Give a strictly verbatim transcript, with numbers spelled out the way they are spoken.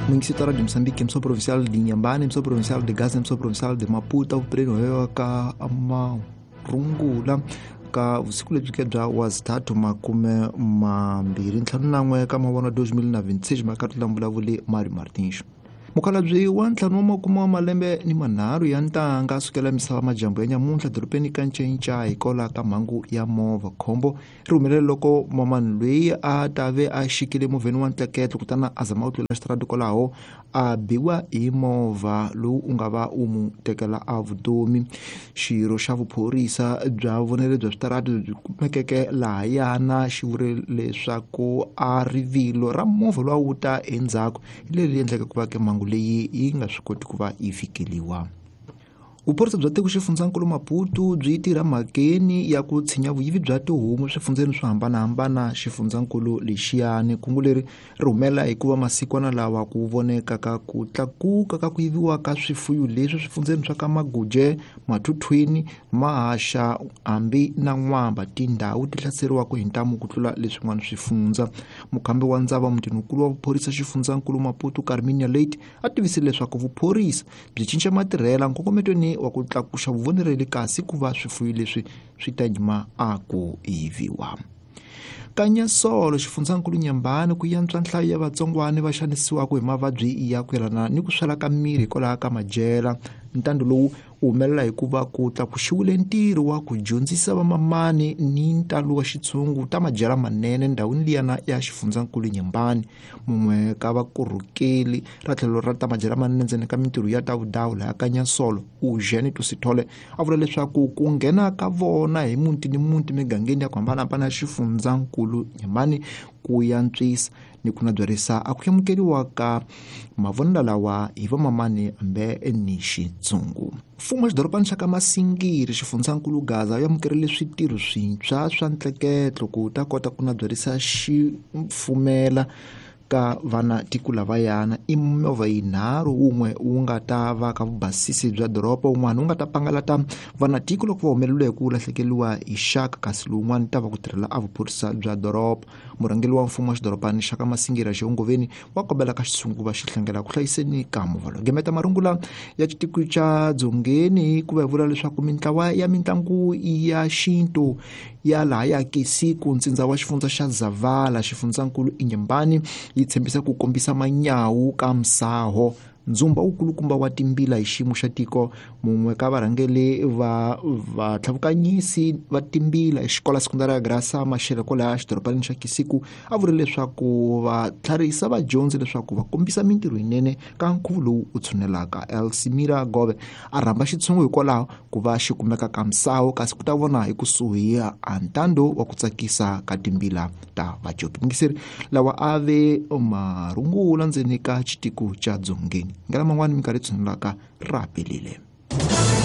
Município de Moçambique, emissão provincial de Inhambane, emissão provincial de Gaza, emissão provincial de Maputo, preno ka Marungula ka vusiku lebyi ke bya wazithathu makume mambirhi ntlhanu na n'we ka mavona dois mil na vinte e seis makati la vulavuli Mário Martins. Mukhalabye wa ntlhanu wa makume wa malembe ni manharhu ya ntanga sukela misava majambu ya nyamuntlha dorobeni ka Ncenca hikwalaho ka mhangu ya movha. Khombo ri humelele loko mamani loyi a ta ve a xikile movheni wa ntleketlo kutani a zama ku tlula xitarati kwalaho a biwa hi movha lowu u nga va u mu tekela a vutomi. Xirho xa vuphorisa bya vonelo bya switarati byi kumekeke lahayana xi vule leswaku a rivilo ra movha lowu wu ta endzhaku hi leri endleke ku va ke mhangu leyi yi nga swi koti ku va yi fikeliwa. Vuphorisa bya tiko xifundzankulu Maputo byi tirha mhakeni ya ku tshinya vuyivi bya tihomu swifundzeni swo hambanahambana xifundzankulu lexiyani. Kungu leri ri humela hikuva masikwana lawa ku voneka ka ku tlakuka ka ku yiviwa ka swifuyo leswi swifundzeni swa ka Maguje, Mathuthwini, Mahaxa hambi na N'wamba, tindhawu ti hlaseriwaka hi ntamu ku tlula leswin'wana swifundza. Mukhambi wa ndzava mutinkulu wa vuphorisa xifundzankulu Maputo Carminia Leite a tivisile leswaku vuphorisa byi cinca matirhela nkongometweni wa ku tlakuxa vuvonereli kasi ku va swifuyo leswi swi ta nyima a ku yiviwa. Kanyasolo xifundzankulu Nyambani ku yantswa nhlayo ya vatsongwana va xanisiwaka hi mavabyi ya ku yelana ni ku swela ka miri hikwalaho ka madyela. Ntando lowu wu humelela hikuva ku tlakuxiwile ntirho wa ku dyondzisa vamamani ni ntalo wa xitshungu ta madyela manene ndhawini liyana ya xifundzankulu Nyambani. Mun'we ka vakorhokeli ra tlhelo ra ta madyela manene ndzeni ka mintirho ya ta vudawu laha Kanyasolo Eugene Tusithole a vula leswaku ku nghena ka vona hi muti ni muti migangeni ya ku hambanahambana ya xifundzankulu Nyambani ku yantswisa ni ku nabyarisa a ku amukeriwa ka mavonelo lawa hi vamamani hambe ni xitshungu. Mfumo wa xidorobana xa ka Masingiri xifundzankulu Gaza wu amukerile switirho swintshwa swa ntleketlo ku ta kota ku nabyarisa xifumela ka vana tiko lavayana. I mimovha yinharhu, wun'we wu nga ta va ka vubasisi bya doroba, wun'wana wu nga ta pangalata vana tiko loko va humeleliwe hi ku lahlekeriwa hi xaka, kasi lowun'wana ta va ku tirhela a vuphorisa bya doroba. Murhangeri wa mfumo wa xidorobana xa ka Masingira Xihongoveni wa kombela ka xitshungu va xi hlangela ku hlayiseni ka movha lowu. Gemeta marungula ya xitiko xa Dzongeni ku va hi vula leswaku mintlawa ya mitlangu ya xintu ya laha ya Kisiku ntsindza wa xifundza xa Zavala xifundzankulu Inhambane yi tshembisa ku kombisa manyawu ka msaho ndzumba wukulukumba wa timbila hi xiyimo xa tiko. Mun'we ka varhangeri va vatlhavukanyisi va timbila exikola sekundari ya Grasa Mashele kwalaya xidorobanini xa Kisiku a vule leswaku va tlharihisa vadyondzi leswaku va kombisa mintirho yinene ka nkhuvo lowu wu tshunelaka. Elsimira Gove a rhamba xitshungu hikwalaho ku va xi kumeka ka msaho kasi ku ta vona hi kusuhi a ntando wa ku tsakisa ka timbila ta vajoki. Mingiseri lawa a ve marungula ndzeni ka xitiko xa Dzongeni. Ngala man'wani minkarhi tshunelaka ra pelile.